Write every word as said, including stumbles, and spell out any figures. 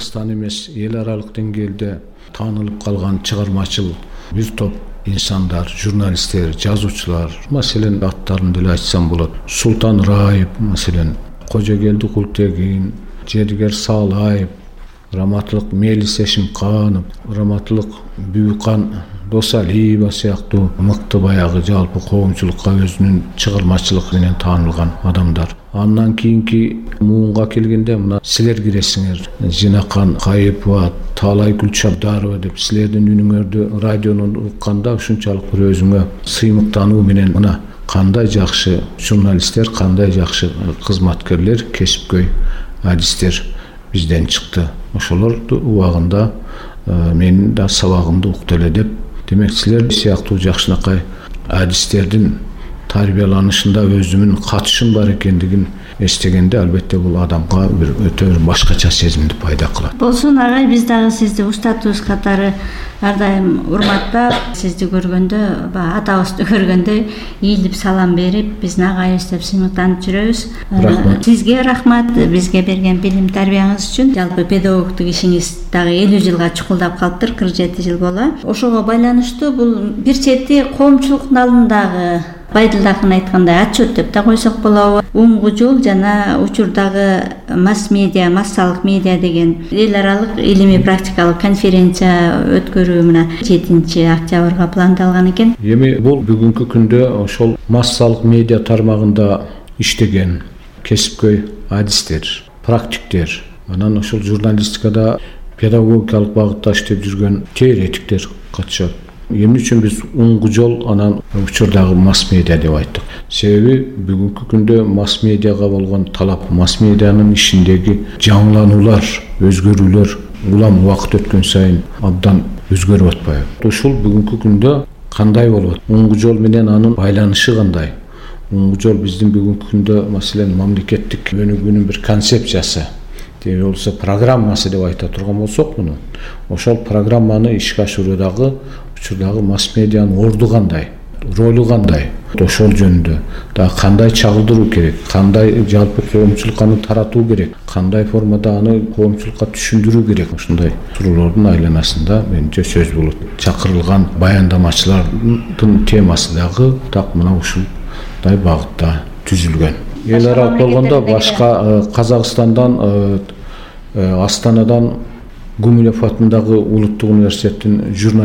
Кыргызстан эмес, эл аралык деңгээлде таанылып калган чыгармачыл бир топ инсандар, журналисттер, жазуучулар, маселен аттарын деле айтсам болот. Султан Раев, маселен Кожогелди Култегин, Жедигер Саалаев, раматылык Мелис Эшимканов, раматылык Бүбүкан Досалиева сыяктуу мыкты баягы жалпы коомчулукка өзүнүн чыгармачылыгы менен таанылган адамдар. Андан кийинки муунга келгенде мына силер киресиңер. Жинакан Кайыпова, Таалай Гүлчабдарова деп силердин үнүңөрдү радионун укканда ушунчалык бир өзүңө сыймыктануу менен мына кандай жакшы журналисттер, кандай жакшы кызматкерлер, кесипкөй адистер бизден чыкты. Ошолорду убагында менин да сабагымды укту эле деп. Демек силер сыяктуу жакшынакай адистердин тарбияланышында өзүмүн катышым бар экендигин эстегенде албетте бул адамга бир өтө бир башкача сезимди пайда кылат. Болсун агай, биз дагы сизди устатыбыз катары ар дайым урматтап, сизди көргөндө, атабызды көргөндө ийилип салам берип, биздин агайыбыз деп сыймыктанып жүрөбүз. Рахмат. Сизге рахмат, бизге берген билим тарбияңыз үчүн. Жалпы педагогтук ишиңиз дагы элүү жылга чукулдап калыптыр, кырк жети жыл боло. Ошого байланыштуу бул бир чети коомчулуктун алдындагы Байдылдакын айткандай отчет деп да койсок болобу. Оңгу жол жана учурдагы масс-медиа, массалык медиа деген эл аралык илимий практикалык конференция өткөрүү мына жетинчи октябрга пландалган экен. Эми бул бүгүнкү күндө ошол массалык медиа тармагында иштеген кесипкөй адистер, практиктер, анан ошол журналистикада педагогикалык багытта иштеп жүргөн теоретиктер катышат. Эмне үчүн биз оңгу жол анан учурдагы масс-медиа деп айттык? Себеби бүгүнкү күндө масс-медиага болгон талап, масс-медианын ишиндеги жаңылануулар, өзгөрүүлөр улам убакыт өткөн сайын абдан өзгөрүп атпайбы? Ушул бүгүнкү күндө кандай болот? Оңгу жол менен анын байланышы кандай? Оңгу жол биздин бүгүнкү күндө маселен мамлекеттик өнүгүүнүн бир концепциясы, же болбосо программасы деп айта турган болсок, муну ошол программаны ишке ашыруудагы учурдагы масс-медианын орду кандай, ролу кандай, ошол жөнүндө дагы кандай чагылдыруу керек, кандай жалпы коомчулукка аны таратуу керек, кандай формада аны коомчулукка түшүндүрүү керек, ушундай суроолордун айланасында менимче сөз болот. Чакырылган баяндамачылардын темасы дагы так мына ушундай багытта түзүлгөн. Эл аралык болгондо башка Казакстандан, Астанадан Гумилев атындагы улуттук университеттин журналистика